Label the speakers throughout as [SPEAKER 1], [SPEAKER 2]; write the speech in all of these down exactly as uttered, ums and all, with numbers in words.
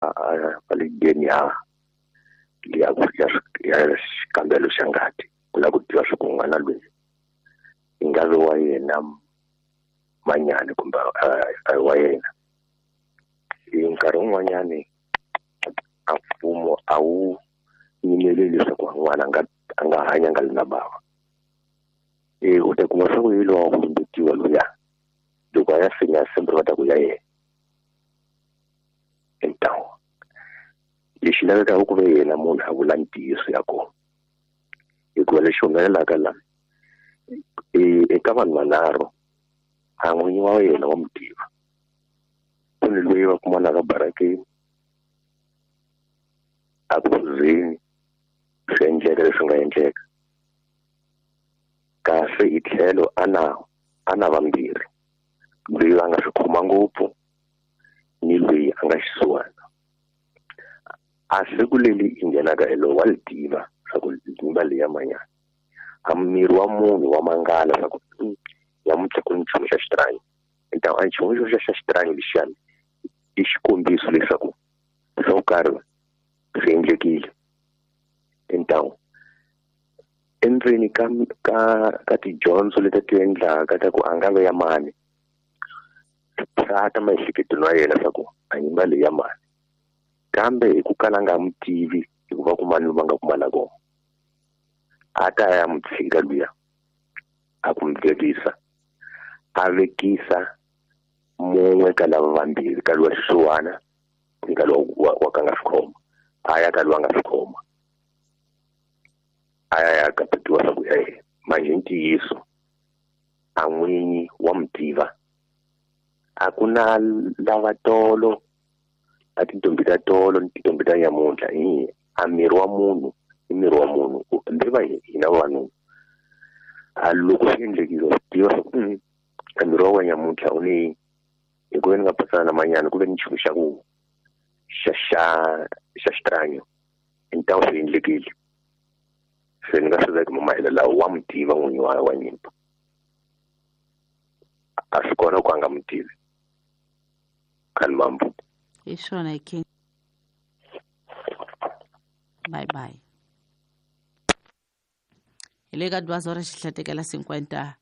[SPEAKER 1] Va le D N A ya ya xikambelo xa ngati ku lava ku tiva swa ku n'wana loyi i nga vi wa yena Manyani kumbe a hi wa yena. Hi nkarhi wun'wanyani a mfumo a wu yimeleli leswaku n'wana a nga a nga hanya a nga ri na bava. E u ta kuma swa ku hi lowa ku lumbetiwa luya, loko a ya finya sembere va ta ku ya yena. Hintawo lexi lavekaka ku ve yena munhu a vula ntiyiso ya kona, hikuva lexi humelelaka la eka vanhu vanharhu, a n'winyi wa yena wa mu tiva, ku ni loyi va kumanaka barakeni a ku phuzeni, swi endleka leswi nga endleka. Kasi hi tlhelo a na a na vambirhi, loyi a nga swi khoma ngopfu ni loyi a nga xisiwana. A siku leri i nghenaka hi lowu wa li tiva swa ku nyimba leyi ya Manyana. A miri wa munhu wa mangala swa ku namuntlha ku ni nchumu xa xitranyo. A nchumu xo xa xitranyo lexiyani i xikombiso leswaku swo karhi swi endlekile. Hintawo endzeni ka ka ka tidyondzo leti ti endlaka ta ku a nga ve ya mani, swa ta maehleketweni wa yena swa ku a nyimba leyi ya mani, kambe hi ku kala nga n'wi tivi hikuva ku mani va nga kumana kona, a ta ya n'wi tshika luya a ku n'wi vekisa, a vekisa mun'we ka lava vambirhi, ka lowa xisiwana ni ka lowa wa, wa ka nga swi khoma, a ya ka lowa nga swi khoma, a ya ya kapetiwa swa ku ya yena. Manje ntiyiso a n'winyi wa mu tiva. A ku na lava tolo a tintombi ta tolo ni tintombi ta nyamuntlha, hi a miri wa munhu i miri wa munhu, hambi va hina vavanuna. A loko swi endlekile wa swi tiva swa ku a miri wa wena nyamuntlha u ni hi ku ve ni nga pasana na Manyana ku ve ni nchumu xa ku xa xa xa xitranyo, hintawo swi endlekile. Se ni nga swi veka mahelo lawa, wa mu tiva n'winyi wa wa nyimba, a swi kona ku a nga mu tivi. Khalimambu.
[SPEAKER 2] Hi swona hi king. Bye bye. Hi le ka duas horas xihlatekela cinquenta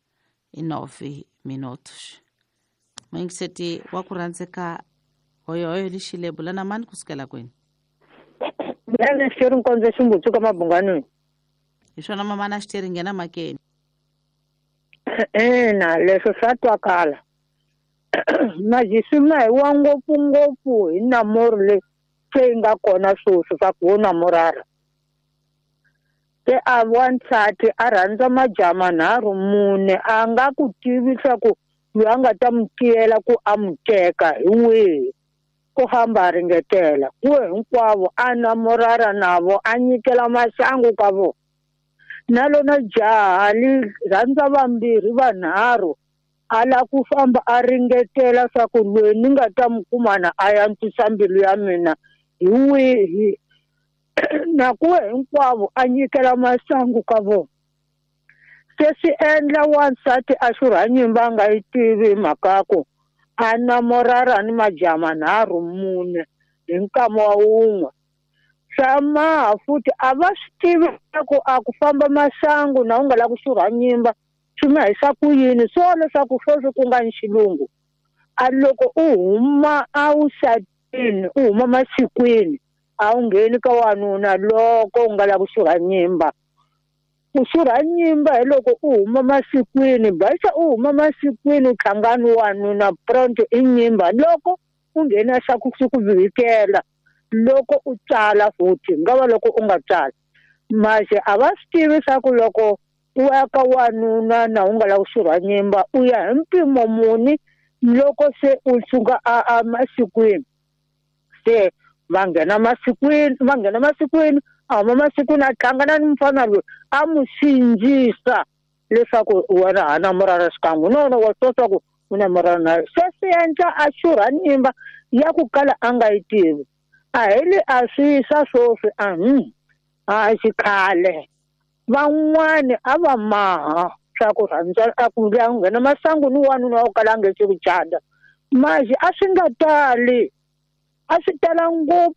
[SPEAKER 2] e nove minutos. Muyingiseti wa ku rhandzeka, hoyohoyo lexile, bula na mani kusukela kwini?
[SPEAKER 3] Mina xiteri nkondzo ximbutsu ka mabunganweni.
[SPEAKER 2] Hi swona mamana xiteri, nghena makeni.
[SPEAKER 3] Ina, leswo swa twakala. Majisi ma hi wa ngopfungopfu hi namori leyi se yi nga kona sweswi swa ku wo namorara. Se a wansati a rhandza majaha manharhu mune, a nga ku tivi swa ku loyi a nga ta mu tiyela ku a mu teka hi wihi, ku hamba a ringetela ku hinkwavo a namorara navo, a nyikela maxangu ka vona. Na lona jaha li rhandza vambirhi vanharhu, a la ku famba a ringetela swa ku loyi ni nga ta mu kumana a antswisa mbilu ya mina hi wihi, na ku hinkwavo a nyikela masangu ka vona. Se swi endla wansati a xurha nyimba a nga yi tivi mhaka ku a namorara ni majaha manharhu mune hi nkama wa wun'we. Swa maha futhi a va swi tivi ku a ku famba masangu na u nga lavi ku xurha nyimba swi ma hisa ku yini, swo leswaku sweswi ku nga ni xilungu. A loko u huma a vusatini, u huma masikwini, a wu ngheni ka wanuna loko u nga lavi ku xurha nyimba. Ku xurha nyimba hi loko u huma masikwini, baxa u huma masikwini u hlangana wanuna pronto i nyimba, loko u nghena xa ku swi ku vhikela loko u tsala futhi nga va loko u nga tsala. Manje a va swi tivi swa ku loko u ya ka wanuna na u nga lavi ku xurha nyimba u ya hi mpimo muni loko se u suka a a masikwini. Se va nghena masikwini, va nghena masikwini, a huma masikwini a hlangana ni mufana loyi a mu sindzisa leswaku wena ha namorara xikan'we. No no, wa swi tiva ku u namorara na yena. Se swi endla a xurha nyimba ya ku kala a nga yi tivi. A hi le a swi swa sweswi, a hmm a xikhale van'wani a va maha swa ku rhandza a ku nghena masangu ni wanuna wa ku kala a nge se ku cata. Manje a swi nga tali. A swi tala ngopfu